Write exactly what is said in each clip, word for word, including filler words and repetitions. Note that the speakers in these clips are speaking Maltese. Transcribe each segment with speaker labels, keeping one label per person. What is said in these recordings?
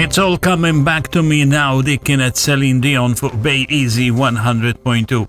Speaker 1: It's all coming back to me now, dik kienet Celine Dion fuq Bay Easy one hundred point two.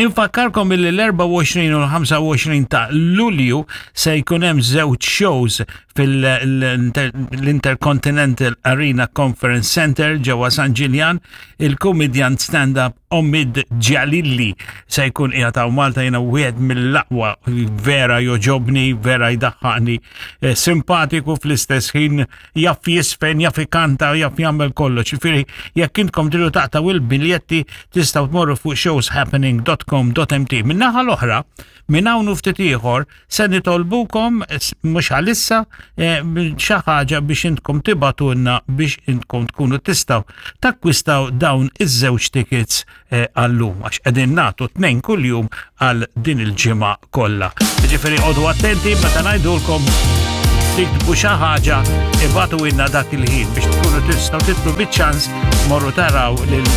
Speaker 1: Infakkarkom illi l-erbgħa u għoxrin u l-ħamsa u għoxrin ta' Lulju se jkun hemm żewġ shows fil-Intercontinental Arena Conference Center ġewwa San Ġiljan. Il-comedian stand-up Omid Djalili se jkun qiegħed hawn Malta. Jiena wieħed mill-aqwa, vera jogħġobni, vera jdaħħaqni, eh, simpatiku, fl-istess ħin jaf jiżfen, jaf ikanta, jaf jagħmel kollox. Ġifieri jekk intkom tridu taqtgħu il-biljetti, tistgħu tmorru fuq showshappening dot com dot M T. Min-naħa l-oħra, minn hawn u ftit ieħor se nitolbukom, mhux għalissa, eh, xi ħaġa biex intkom tibagħtulna biex intkom tkunu tistgħu takkwistaw dawn iż-żewġ tickets eh, għallum, għax qegħdin nagħtu tnejn kuljum għal din il-ġimgħa kollha. Ġifieri oqogħdu attenti meta ngħidulkom tiktbu xi ħaġa, ibagħtulna dak il-ħin biex tkunu tistgħu tidħlu biċ-ċans morru taraw lil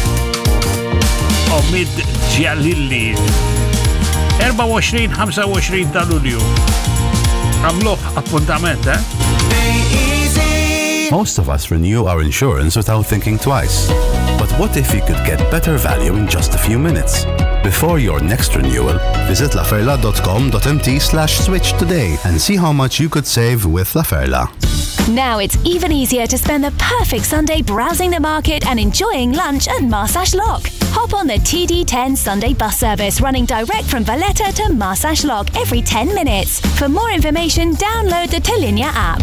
Speaker 1: Omid Djalili. erbgħa u għoxrin ħamsa u għoxrin ta' Lulju. Għamluh appuntament, eh?
Speaker 2: Most of us renew our insurance without thinking twice. But what if you could get better value in just a few minutes? Before your next renewal, visit laferla dot com dot M T slash switch today and see how much you could save with La Ferla.
Speaker 3: Now it's even easier to spend the perfect Sunday browsing the market and enjoying lunch at Marsaxlokk. Hop on the T D ten Sunday bus service running direct from Valletta to Marsaxlokk every ten minutes. For more information, download the Tallinja app.